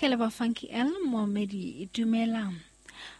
Ke leboha Funky L Moomedi dumela.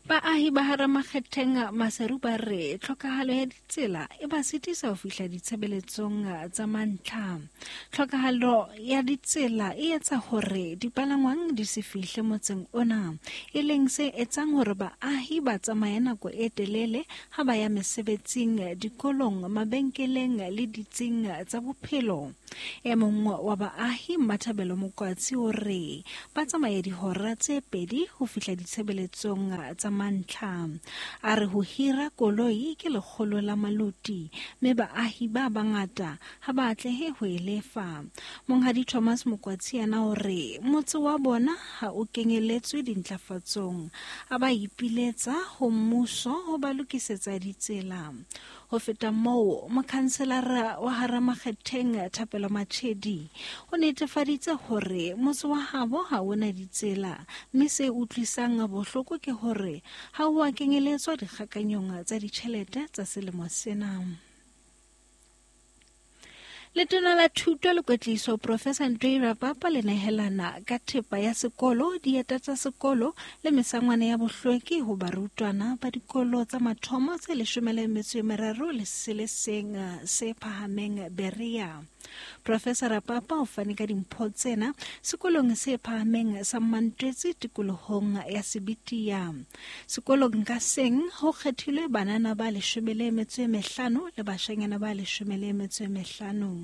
Baahi ba hara Makgetheng Maseru ba re tlhokahalo ya ditsela e ba sitisa ho fihla ditshebeletsong tsa mantlha. Tlhokahalo ya ditsela e etsa hore dipalangwang di se fihle motseng ona, e leng se etsang hore baahi ba tsamaye nako e telele ha ba ya mesebetsing, dikolong, mabenkeleng le ditsing tsa bophelo. E mong wa baahi Mmathabelo Mokwatsi o re ba tsamaya dihora tse pedi ho fihla ditshebeletsong tsa mantlha. A re ho hira koloi ke lekgolo la maloti mme baahi ba bangata ha ba atlehe ho e lefa. Monghadi Thomas Mokwatsi yena o re motse wa bona ha o kenyeletswe dintlafatsong. A ba ipiletsa ho mmuso ho ba lokisetsa ditsela. Ho feta moo, mokhanselara wa hara Makgetheng Thapelo Machedi o netefaditse hore motse wa habo ha o na ditsela, mme se utlwisang bohloko ke hore ha o a kenyeletswa dikgakanyong tsa ditjhelete tsa selemo sena. Letona la Thuto le Kwetliso Professor Ntoi Rapapa le nehelana ka thepa ya sekolo, dieta tsa sekolo le mesangwana ya bohlweki ho barutwana ba dikolo tsa mathomo tse leshome le metso e meraro le se le seng se phahameng Berea. Professor Rapapa o fane ka dimpho tsena sekolong se phahameng sa Mmantwetsi tikolohong ya Sebitia. Sekolong ka seng ho kgethilwe banana ba leshome le metso e mehlano le bashanyana ba leshome le metso e mehlano.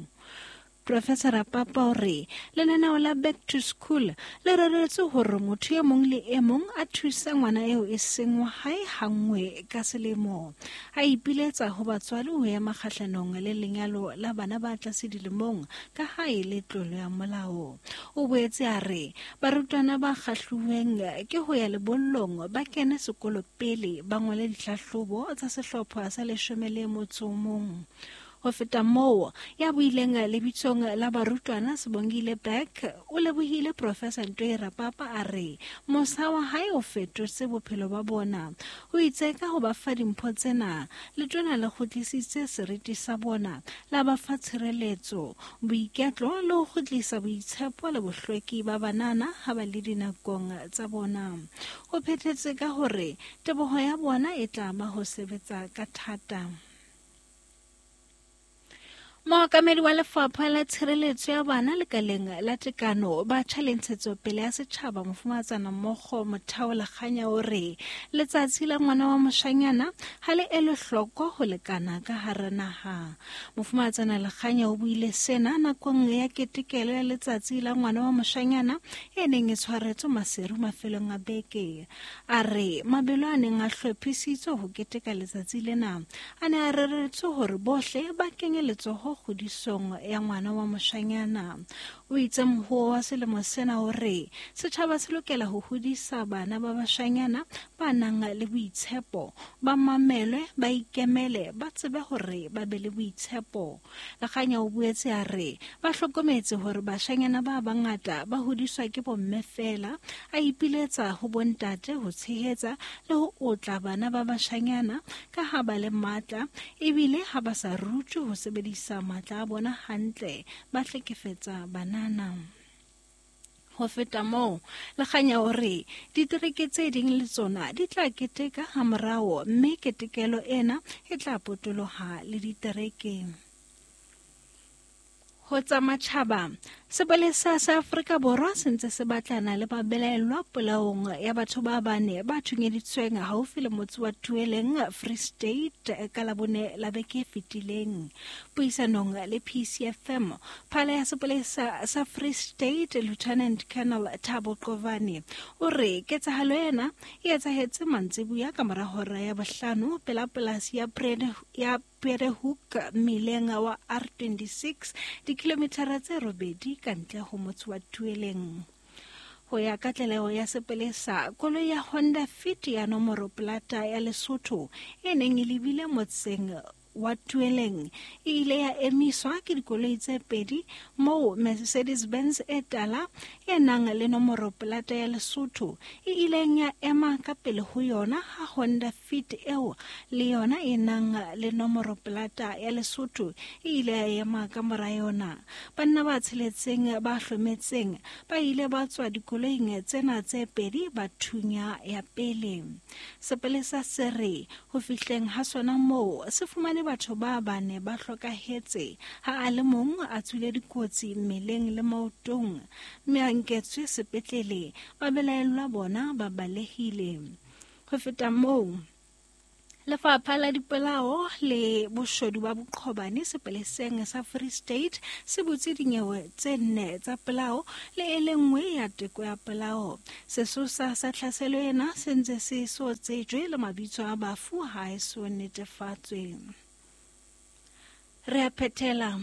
Professor Rapapa o re lenaneo la Back to School le reretswe hore motho e mong le e mong a thuse ngwana eo e seng wa hae hanngwe ka selemo. A ipiletsa ho batswadi ho ema kgahlanong le lenyalo la bana ba tlase dilemong ka ha e le tlolo ya molao. O boetse a re Barutwana ba kgahluweng ke ho ya lebollong ba kene sekolo pele ba ngole dihlahlobo tsa sehlopha sa leshome le motso o mong. Ho feta moo, ya buileng lebitsong la barutwana Sibongile Beck o lebohile Professor Ntoi Rapapa a re mosa wa hae o fetotse bophelo ba bona. O itse ka ho ba fa dimpho tsena, letona le kgutlisitse seriti sa bona, la ba fa tshireletso, boiketlo le ho kgutlisa boitshepo le bohlweki ba banana ha ba le dinakong tsa bona. O phethetse ka hore teboho ya bona e tla ba ho sebetsa ka thata. Mookamedi wa lefapha la tshireletso ya bana lekaleng la tekano batjha le ntshetsopele ya setjhaba mofumatsana mmogo Mothao Lekganya o re letsatsi la ngwana wa moshanyana ha le elwe hloko ho lekana ka hara naha. Mofumahatsana Lekganya o buile sena nakong ya ketekelo ya letsatsi la ngwana wa moshanyana e neng e tshwaretswe Maseru mafelong a beke. A re mabelo a neng a hlophisitswe ho keteka letsatsi lena a ne a reretswe hore bohle ba kenye letsoho kgodisong ya ngwana wa moshanyana. O itse mohoo wa selemo sena o re setjhaba se lokela ho hodisa bana ba bashanyana ba nang le boitshepo, ba mamelwe, ba ikemele, ba tsebe hore ba be le boitshepo. Lekganya o boetse a re ba hlokometse hore bashanyana ba bangata ba hodiswa ke bomme feela, a ipiletsa ho bontate ho tshehetsa le ho otla bana ba bashanyana ka ha ba le matla ebile ha ba sa rutwe ho sebedisa matla a bona hantle, ba hlekefetsa banana. Ho feta moo, Lekganya o re ditereke tse ding le tsona di tla keteka hamorao mme ketekelo ena e tla potoloha le ditereke. Ho tsa matjhaba, sepolesa sa Afrika Borwa se ntse se batlana le babelaellwa polaong ya batho ba bane ba thunyeditsweng haufi le motse wa Tueleng, Free State ka Labone la beke e fetileng. Puisanong le PCFM, phala ya sepolesa sa Free State Lieutenant Colonel Thabo Qovane o re ketsahalo ena e etsahetse mantsibuya ka mora hora ya bohlano pela polasi ya ya Perehoek mmileng wa R26 dikilomithara tse robedi ka ntle ho motse wa Tueleng. Ho ya ka tlaleho ya sepolesa, koloi ya Honda Fit ya nomoro plata ya Lesotho e neng e lebile motseng wa Tueleng e ile ya emiswa ke dikoloi tse pedi moo Mercedes-Benz e tala e nang le nomoro polata ya Lesotho e ileng ya ema ka pele ho yona ha Honda Fit eo le yona e nang le nomoro polata ya Lesotho e ile ya ema ka mora yona. Banna ba tsheletseng ba hlometseng ba ile ba tswa dikoloing tsena tse pedi ba thunya ya pele. Sepolesa se re ho fihleng ha sona moo se fumane batho ba bane ba hlokahetse ha a le mong a tswile dikotsi mmeleng le maotong mme a nketswe sepetlele, babelaellwa bona ba balehile. Ho feta moo, Lefapha la Dipolao le Boshodu ba Boqhobane sepoleseng sa Free State se butse dinyewe tse nne tsa polao le e le nngwe ya teko ya polao. Sesosa sa tlhaselo ena se ntse se so tsejwe le mabitso a bafu ha e so netefatswe. Re a phethela.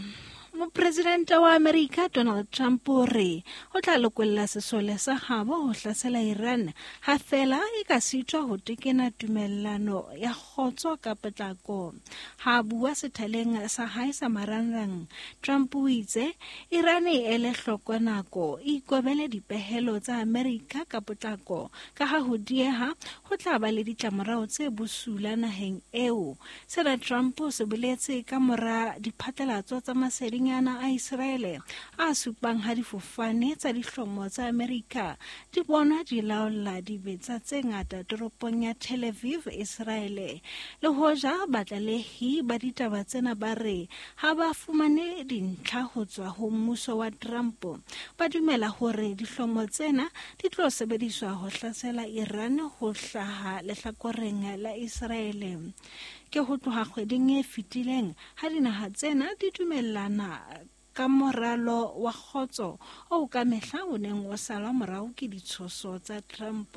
Mopresidente wa Amerika Donald Trump o re o tla lokolla sesole sa gabo ho hlasela Iran ha fela e ka sitwa ho tekena tumellano ya kgotso ka potlako. Ha a bua sethaleng sa hae sa marangrang, Trump o itse Iran e ele hloko nako e ikobele dipehelo tsa Amerika ka potlako ka ha ho dieha ho tla ba le ditlamorao tse bosula naheng eo. Sena Trump o se boletse ka mora diphatlalatso tsa masedinyana a Iseraele a supang ha difofane tsa dihlomo tsa Amerika di bonwa di laolla dibetsa tse ngata toropong ya Tel Aviv, Iseraele. Le hoja batlalehi ba ditaba tsena ba re ha ba fumane dintlha ho tswa ho mmuso wa Trump, ba dumela hore dihlomo tsena di tlo sebediswa ho hlasela Iran ho hlaha lehlakoreng la Iseraele. Ke ho tloha kgweding e fetileng ha dinaha tsena di dumellana ka moralo wa kgotso oo ka mehla o neng o salwa morao ke ditshoso tsa Trump.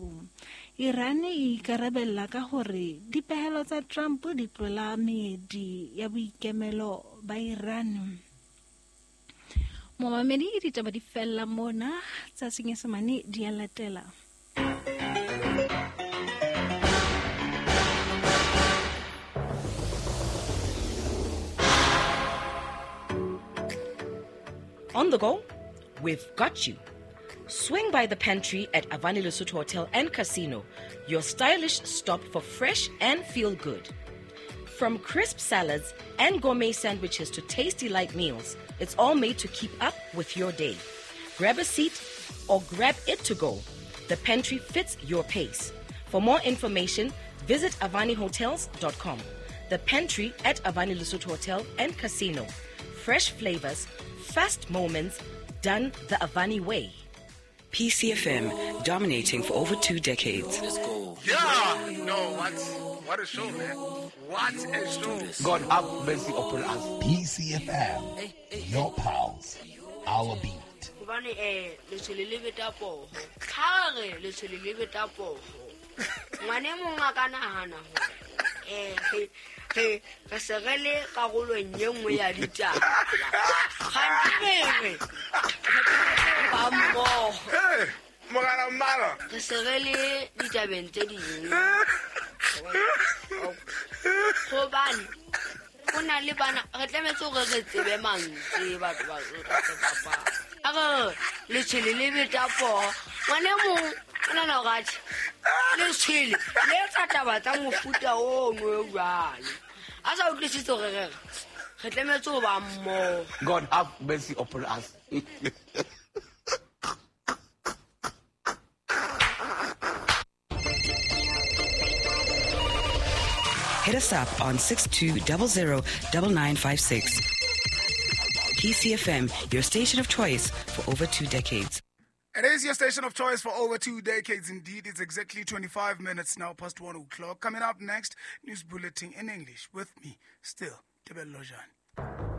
Iran e ikarabella ka hore dipehelo tsa Trump di tlola meedi ya boikemelo ba Iran. Momamedi, ditaba di fella mona tsa Senyesemane di a latela. On the go? We've got you. Swing by the pantry at Avani Lesotho Hotel and Casino, your stylish stop for fresh and feel good. From crisp salads and gourmet sandwiches to tasty light meals, it's all made to keep up with your day. Grab a seat or grab it to go. The pantry fits your pace. For more information, visit avanihotels.com. The pantry at Avani Lesotho Hotel and Casino. Fresh flavors, fast moments, done the Avani way. PCFM, dominating for over 2 decades. Let's go. Yeah! No, what a show, man. What a show. God have mercy upon us. PCFM, your pals, our beat. God have mercy upon us. Hit us up on 6200 9956. PCFM, your station of choice for over 2 decades. It is your station of choice for over 2 decades indeed. It's exactly 25 minutes now past 1 o'clock. Coming up next, news bulletin in English with me, still, Tebello Lojan.